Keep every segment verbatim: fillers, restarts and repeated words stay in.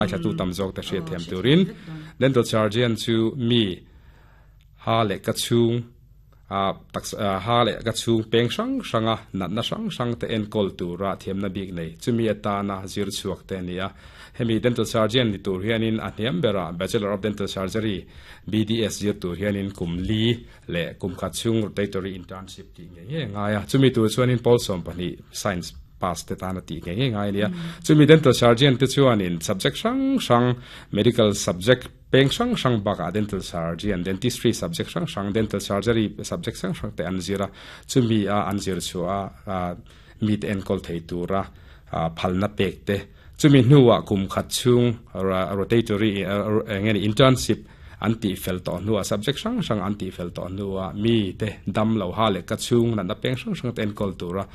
Thlatu tam zawk te hriat thiam turin dental surgeon chu mi ha leh ka chhung a tak ha leh ka chhung peng hrang hranga natna hrang hrang te enkawl tura thiamna bik nei chumi atana zir chhuak te ania. Hemi dental surgeon ni tur hianin a hniam bera Bachelor of Dental Surgery B D S zir tur hianin kum li leh kum khat chhung rotatory internship ti nge nge ngaia. Chumi tur chuanin pawl sawm pahnih science pass te tana ti nge nge ngai ania. Chumi dental surgeon te chuanin subject hrang hrang, medical subject peng hrang hrang baka dental surgeon, dentistry subject hrang hrang, dental surgery subject hrang hrang te an zira. Chumi a an zir chu a mi te enkawl thei tura phalna pek te, chumi hnuwa kum khat chung rotatory ngeni internship an ti fel to nuwa, subject hrang hrang an ti fel to nuwa, mi te dam lo ha le ka chung na na peng hrang hrang ten kol tura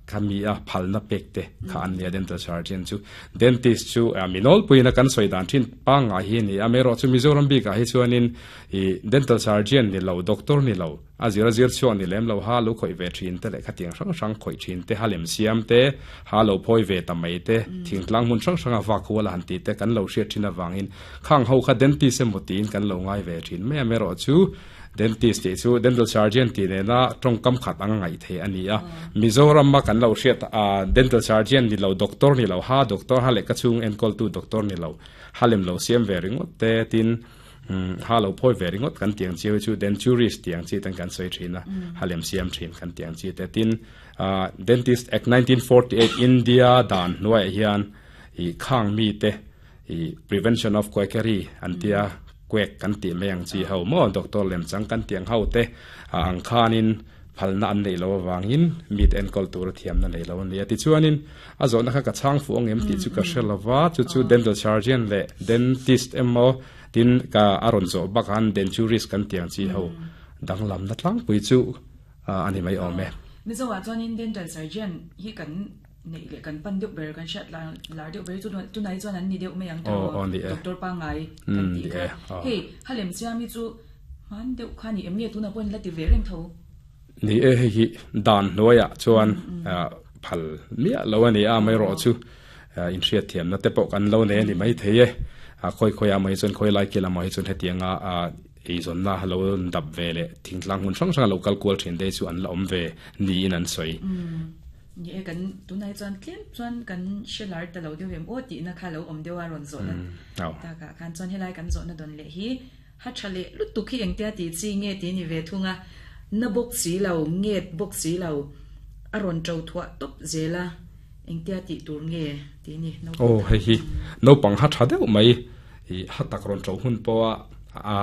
khami a phalna pek te kha an nia dental surgeon chu. Dentist chu minol puina kan soi dan thin pa nga hi ni amero chu Mizoram bi ka hi chuanin i dental surgeon ni lo, doctor ni lo, a zira zir chuan ni lem lo, ha lu khoi ve thin te le khatiang hrang hrang khoi thin te, halem siam te, ha lo phoi ve ta mai te, thingtlang mun hrang hrang a wa khuala han ti te kan lo hriat thin awangin khang ho kha dentist emaw tin kan lo ngai ve thin me. Amero chu dentist ti chu dental surgeon ti ne na tong kam khat ang ngai the ani a. Mizoram ma kan lo hriat a dental surgeon ni lo, doctor ni lo, ha doctor, ha le ka chung en kol tu doctor ni lo, halem lo siam ve ringot te, tin ha lo phoi ve ringot kan tiang chiu chu denturist tiang chi tan kan soi thina, halem siam thin kan tiang chi te. Tin Dentist Act nineteen forty-eight India dan nuai hian i khang mi te i prevention of quackery antia, quack kan ti meng chi ho mo, doctor lem chang kan tiang ho te ang khanin phalna an nei lo wangin mit enkol tur thiam na nei lo ani. Ti chuanin a zo na kha ka chang fu ong em ti chu ka hrelawa. Chu chu dental surgeon le dentist emo, tin ka aron zo bakan denturist kan tiang chi ho danglam na tlang pui chu ani mai ome. Mizo wa chuanin dental surgeon hi kan nei le kan pan deuh ber, kan hriat lar lar deuh ber chu tu nai chuan an ni deuh mai ang. O ni e. Doctor pa ngai kan ti kha. Hei, halem siami chu man deuh kha ni em nge tuna pon la ti ve reng tho? Ni e, hi dan noya chuan phal mia lo ani a. Mai ro chu in hriat thiam na te pawh kan lo ne ni mai thei e. A khoi khoi a mai chuan khoi lai kila mai chuan hetianga a ei zon na lo dap ve le thingtlang hun hrang hrang local kual thin te chu an la om ve ni in an soi. Ni e, kan tunai chuan tlem chuan kan shelar ta lo deuh em o ti na kha lo om deuh a ron zo na ta ka khan chuan helai kan zo na don le hi ha thale lu tu khi engtia ti chi nge ti ni ve thunga na bok si lo nget bok si lo a ron chau thwa top zela engtia ti tur nge ti ni no? O, hei hi no pang ha tha deuh mai i ha tak ron chau hun po a a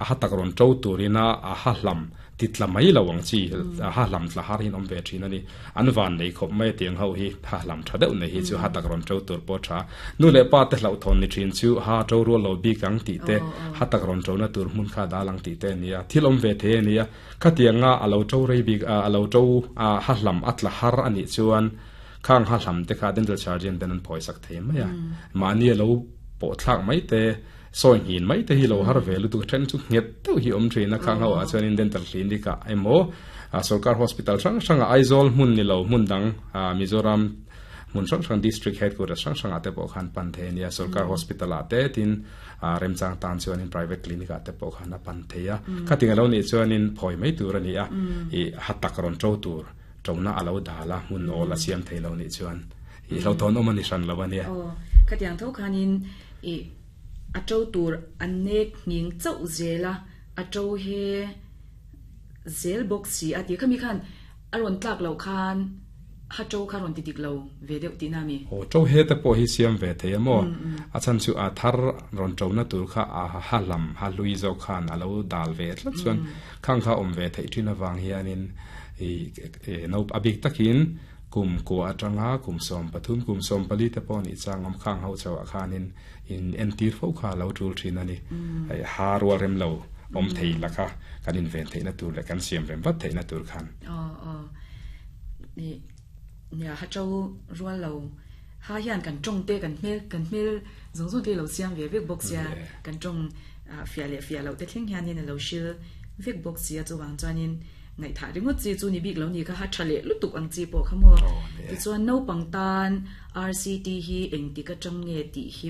ha tak ron chau turina a ha hlam titla mai lo ang chi a ha hlam tla har hin om ve thin ani. An van nei khop mai tiang ho hi ha hlam tha deuh nei hi chu ha tak ron chau tur po tha. Nu le pa te hlau thon ni thin chu ha chau ro lo bi kang ti te, ha tak ron chau na tur mun kha da lang ti te nia, thil om ve the nia. Kha tianga alo chau rei bi alo chau a ha hlam atla har ani chuan khang ha hlam te kha dental surgeon ten an phoi sak thei mai a. Ma ni lo po thlak mai te, soi hin mai te hi lo har ve lu tu then chu nget tu hi om thina. Khang ho a chuan in dental clinic a emo a sarkar hospital hrang hrang a Aizawl hmun ni lo hmun dang a Mizoram mun hrang hrang district headquarters hrang hrang ate pawh khan pan the nia. Sarkar hospital a te, tin a remchang tan chuan in private clinic a te pawh khan a pan theia. Khating alo ni chuan in phoi mai tur ani a. I hatak ron tro tur trona alo dala mun ol a siam theilo ni chuan i lo thon om ani hran lo ania. O, khatiang tho khanin i a to tur an nek nging chau zela a to he zel box si a ti khami khan aron tlak lo khan ha to kha ron ti dik lo ve deuh ti na mi. O, to he te po hi siam ve the mo. A chan chu a thar ron to na tur kha a ha lam ha lui zo khan alo dal ve tlat chuan khang kha om ve thei thin awang hianin i no abik takin kum ko atanga kum som pathum kum som pali te pon i changam khang ho chawa khanin in entir fo kha lo tul thin ani. Ai ha rual rem lo om thei laka kan in ven thei na tur le kan siam rem vat thei na tur khan. O o, ni nia, ha chau rual lo ha hian kan tong te kan hmel kan hmel zong zong te lo siam ve vek box ya kan tong fia le fia lo te thleng hian in lo shil vek box ya chu wang chuanin ngai tha ringot chi chu ni bik lo ni kha ha thale lutuk ang chi po khamo. Ti chuan no pangtan R C T hi eng ti ka chang nge ti hi?